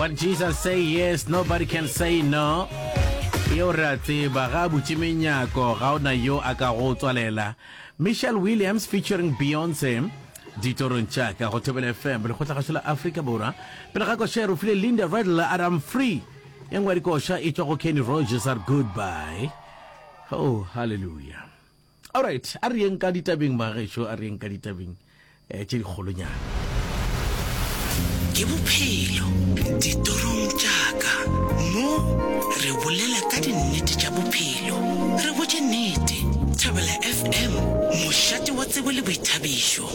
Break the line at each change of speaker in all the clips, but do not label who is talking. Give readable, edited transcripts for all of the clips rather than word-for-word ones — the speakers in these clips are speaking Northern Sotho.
When Jesus say yes, nobody can say no. Yeo re a tseba, ga a butše menyako, ga o na yo a ka go tswalela. Michelle Williams featuring Beyonce, ditorong tša ka go Thobela FM, lekgotlagašo la Afrika Borwa. Pele ga koša re file Linda Riddle a re I'm free. E nngwe ya dikoša e tšwa go Kenny Rogers a re goodbye. Oh, hallelujah. Alright, a re yeng ka ditabeng bagešo, a re yeng ka ditabeng eh, tše dikgolonyana.
Ke bophelo ditorong tša ka. Mo re bolela ka dinnete tša bophelo. Re botše nnete. Thobela FM, mošate wa tsebo le boithabišo.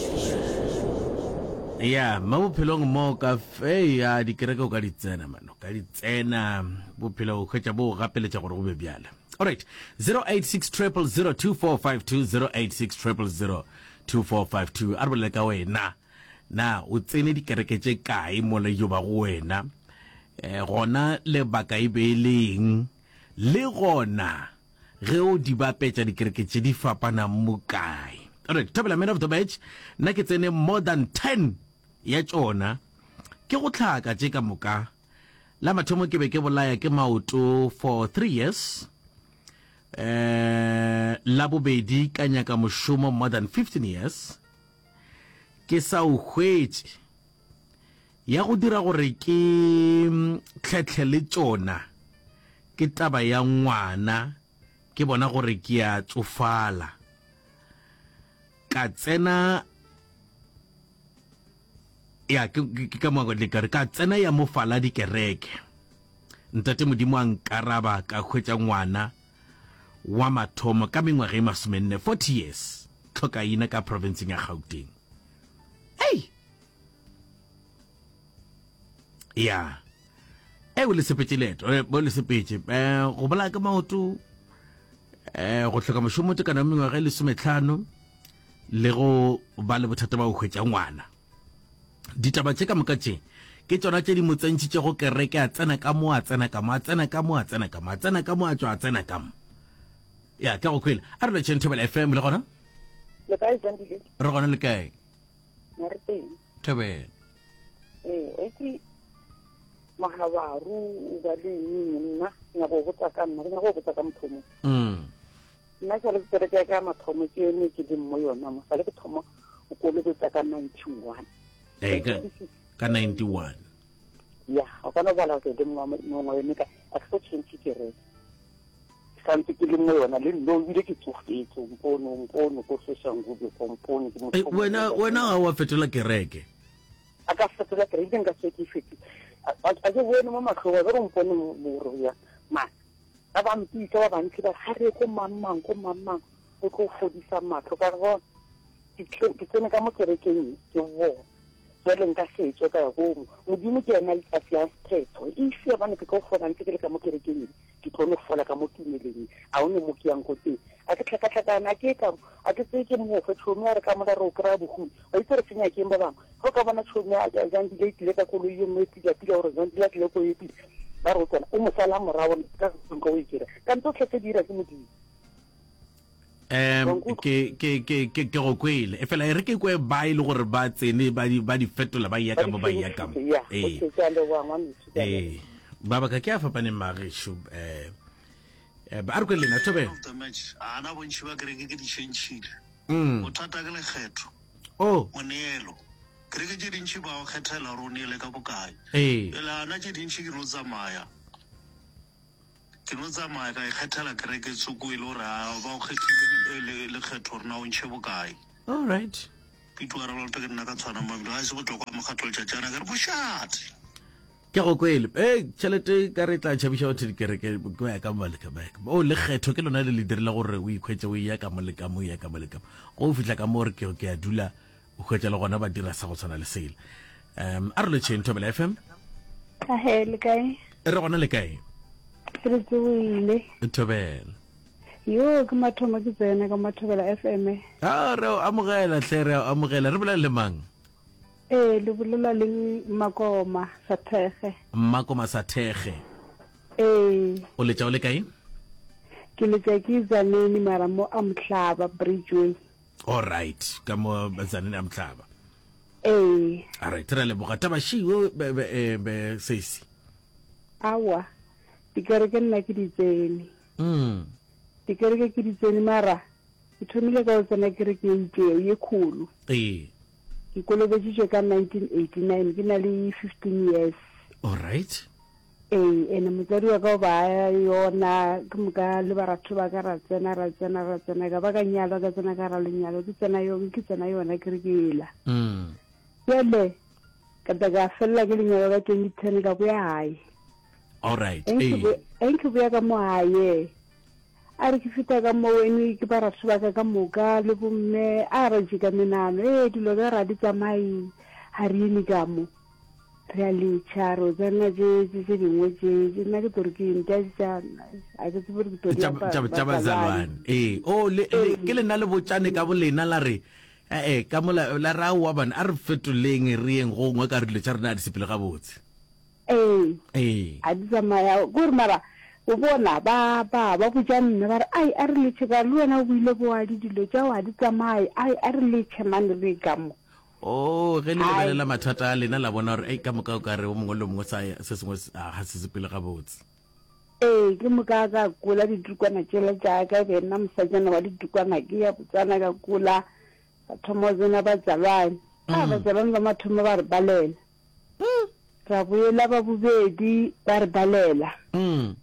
Ya, mo bophelong mo ka fe ya dikereke o ka di tsena man, o ka di tsena bophelo o hwetša bo go gapeletša gore go be bjale. Alright, 086 000 2452 086 000 2452 a re bolele ka wena na o tsene dikereke tše kae mola yo ba go wena eh, gona lebaka e be e leng le gona ge o di bapetša dikereke tše di fapanang mo kae alright thobela man of the match nna ke tsene more than 10 ya tšona ke go tlhaka tše ka moka La mathomo ke be ke bolaya ke maoto for 3 years. Eh, la bobedi ka nyaka mošomo more than 15 years. Ke sa o hwetše. Ya go dira gore ke tlhetlhe le tšona ke taba ya ngwana ke bona gore ke a tsofala. Ka tsena ya ke ke ka mo le ka re ka tsena ya mo fala dikereke ntate modimo a nkaraba ka hwetša ngwana wa mathomo ka mengwaga e masomenne 40 years tlhokaina ka provinceng ya Gauteng ei ya e o le sepetše leeto eh, o le sepetše eh, go bolaya ka maoto eh, go hloka mošomo tekano ya mengwaga e lesometlhano le go ba le bothata ba go hwetša ngwana. Ditaba tše ka moka tše ke tšona tše di mo tsentšhitšego kereke, a tsena ka mo, a tsena ka mo, a tsena ka mo, a tsena ka mo, a tsena ka mo, a tšwa a tsena ka mo. Ya, ke go kwele. A re letšeng Thobela FM le gona?
Le kae Zandile?
Re gona le kae?
Na re teng.
Thobela.
Ee, o itse mogabaru o ba le eng nna nyako go botsa ka nna ke nyako go botsa ka motho mo.
Mm.
Nna sa le kereke ya ka ya mathomo ke yone ke leng mo yona mo sa le ke thoma go kolobetsa ka 91.
Ee, ka ka 91.
Ya, o ka no bala ke le mongwe yone ka a ke so change kereke. Santse ke le mo yona le nno ebile ke tsofetse mpono mpono ko Soshanguve ko mpone ke motho.
Wena wena ga wa fetola kereke.
A ka fetola kereke nka se ke fete. A ke bone mo mahlong a re mpone mo ya. Ma ba ba mpitsa ba bantsi ba ga re ko mang mang ko mang mang o tlo fodisa matlho ka re bona ke tsene ka mo kerekeng ke bona jale nka setswe ka ya ko modimo ke ena a fiang sephetho if ya bane ke tlo fola ntse ke le ka mo kerekeng ke tlo no fola ka mo tumeleng a o ne mo ke yang ko teng a ke tlhakatlhakana a ke ka a ke tseye ke mofe tšhomi a re ka mola re o kry-a bohumi wa itse re senya keng ba bangwe ge o ka bona tšhomi a jang dile e tlile ka koloi ye nngwe e pila pila gore jang dile a tlile ko e pila ba re o tsena o mosala morago ka nka o e kry kante o tlhetse dira ke modimo
um ke ke ke ke ke go kwele e fela e re ke kwe ba e le gore ba tsene ba di ba di fetola ba ya ka mo ba ya ka mo ee ee ba baka ke a fapaneng magesho eh eh, ba a re kwe lena thobe
of the match ana bontši ba kereke ke di tšhentšhile
mm
bothata ke lekgetho
oh
moneelo kereke tše dintši ba o kgethela gore o neele ka bokae
ee
pele ana tše dintši ke no tsamaya Ke no tsamaya ka ikgethela kereke tsoko e le gore a ba o kgethile lekgetho gore na o ntšhe bokae.
All right.
Pitu a ralote ke nna ka tshwana mabilo a se botlokwa mokgatlo letšatšana ke re bošate.
Ke go kwele. Ee, tšhelete ka re tla tšhabiša batho dikereke ko ya ka mo le ka mo. O lekgetho ke lona le le dirile gore o ikhwetše o eya ka mo le ka mo, o ya ka mo le ka mo. Go o fihla ka mo re ke ke a dula o hwetša le gona ba dira sa go tshwana le sela. Um a re lotšheng Thobela FM.
Ahe, le kae?
Re gona le kae?
Re tsogile.
Thobela.
Yo, ke mathomo ke tsena ka Mathobela FM.
Ah, re o amogela hle, re o amogela. Re bolela le mang?
Ee, le bolela le Mmakoma Sathege.
Mmakoma Sathege.
Ee.
O letša o le kae?
Ke letša ke Tzaneen mara mo a Mohlaba Bridgeway.
All right, ka mo Tzaneen a Mohlaba.
Ee.
All right, re a leboga. Taba she o be be eh, be sesi.
Aowa, dikereke nna ke di tsene.
Mm.
Dikereke ke di tsene mara ke thomile ka go tsena kereke e itšego ye kgolo.
Ee.
Ke kolobeditšwe ka 1989 ke na le 15 years.
All right.
Ee, ene motswadi wa ka o ba yona ke moka le baratho ba ka ra tsena ra tsena ra tsena ka ba ka nyalwa ka tsena ka ra lenyalo ke tsena yo ke tsena yona kereke ela.
Mm.
Bjale Ka tla ka felela ke lenyalo ka 2010 ka boya gae.
Alright.
Eng ke boya ka mo gae. A re ke fita ka mo wene ke ba ratho ba ka ka moka le bomme a ra jika menano ee dilo ka ra di tsamaye ga re eme ka mo re a letšha re o tsena tše tše dingwe tše tše nna ke tore ke eng tša tša a ke tsebe gore ke tlo di
tša bazalwane ee o le ke lena le botšane ka bolena la re E-e, ka mola la re aowa bana, a re fetoleng re yeng go gongwe ka re dilo tša rena a di sepele gabotse.
Ee.
Ee.
A di tsamaya, kore mara o bona ba ba ba botša mme ba re ai a re letšhe ka le wena o boile boadi dilo tšao ga di tsamaye ai a re letšhe mane re ka mo.
Oh, ge le lebelela mathata a lena la bona gore ei ka moka o ka re o mongwe le o mongwe sa se sengwe ga se sepele gabotse.
Ee, ke moka ka kola ditukwana tšela tša ka, e be nna mosajana wa ditukwana, ke ya Botswana ka kola, ka thoma go tsena batsalwane. A mm. batsalwane ba mathomo ba re balela.
Mm.
Ra boela ba bobedi ba re balela.
Mm.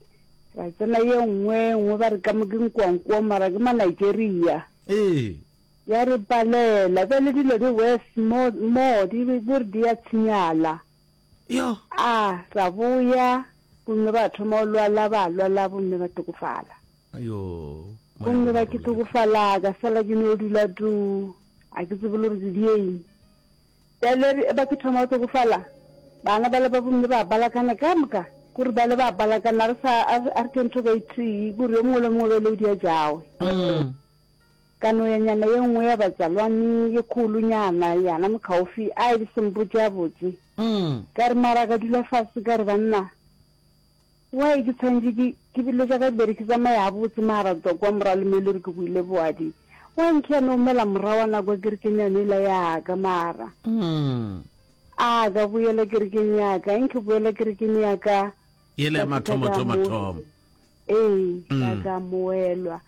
Ra tsena ye nngwe nngwe ba re ka mo ke nkoankoa mara ke ma Nigeria.
Ee.
Ya re balela bjale dilo di worse mo mo di di re di ya tshenyala.
Yo.
A ra boya, gomme ba thoma go lwala, ba lwala, gomme ba tokofala.
Yo.
Gomme ba ke tokofala, ka sala ke no dula tu, a ke tsebe le gore ke dieng. Bjale ba ke thoma go tokofala, bana bale ba bomme ba balakana ka moka, kore bale ba balakana, re sa, a re ke ntho ka e tee, kore yo mongwe le mongwe bjale o dia jawe.
Mm.
Ka no ya nyana ye nngwe ya batsalwane ye kgolonyana, yana mokgaufi, a e se mpotše a botse. Ka re, Mara ka dula fase, ka re, Banna, why ke tshwanetše ke, ke dilo tša ka di be di ke tsamaya gabotse mara tswa kwa morago le mo e le gore ke boile boadi. Why nke ya no omela morawana kwa kerekeng yane yela ya ka mara? A ka boela kerekeng ya ka, nke boela kerekeng ya ka.
Yela ya mathomo, thomo, thomo.
Ee, ka ka moelwa.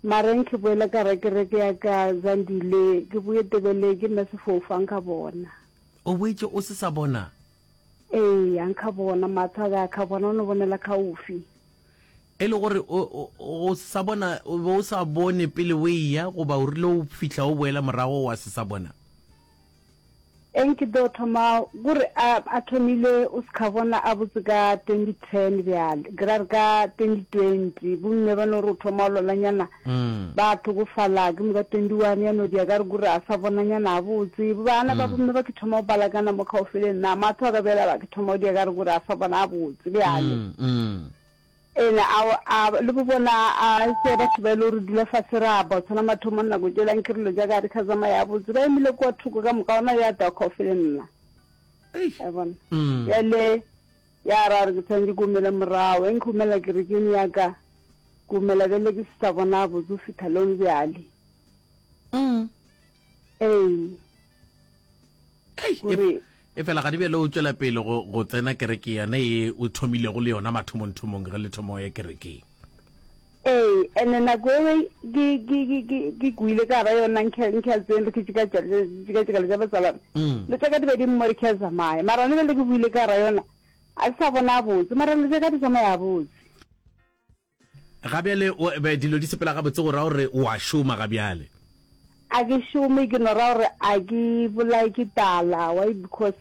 Mara nke boela ka ra kereke ya ka Zandile, ke boye Tebele ke nna sefofu a nka bona.
O boetše o se sa bona?
Ee, a nka bona, mahlo a ka a ka bona, o no bonela kgaufi.
E le gore o, o, o se sa bona, o be o sa bone pele o eya, goba o rile o fihla o boela morago wa se sa bona?
Eng ke tlo thoma kore a a thomile o se ka bona a botse ka 2010 bjale ke ra re ka 2020 bomme ba no re o thoma o lwalanyana ba tlhokofala ke moka 21 ya no dia ka re kore a sa bonanyana a botse bana ba bomme ba ke thoma go balakana mo kgaofi le nna matho a ka bjale ba ke thoma go dia ka re kore a sa bona a botse bjale Ene a, a, le bo bona a se batho ba e le gore dula fase ra ba tshwana mathomong nako tšela nkere dilo tša ka di kha tsamaya botse ba emile kwa thoko ka moka ona ya twa kgaofi le nna a bona bjale ya ra re ke tshwanetse ke omele morago e nkhomela kerekeng ya ka ke omela bjale ke se sa bona botse go fihla lone bjale ee
Gore E fela ga di bjale o tšwela pele go, go tsena kereke yona ye o thomilego le yona mathomongthomong ge le thoma o ya kerekeng.
Ee, ene nako ewe ke, ke, ke, ke, ke kwile ka gara yona nkhe, nkhe a tsene re ke tšika tša, tšika tšika le tša batsalwane.
Mm.
Le tša ka di be di mmo re ke a tsamaya. Mara ne bjale ke buile ka gara yona, a ke sa bona botse, mara le tša ka di tsamaya botse.
Ga bjale o, be, dilo di sepela gabotse go ra gore o a šoma ga bjale?
A ke šome, ke no ra gore a ke bolaye ke tala. Why? Because.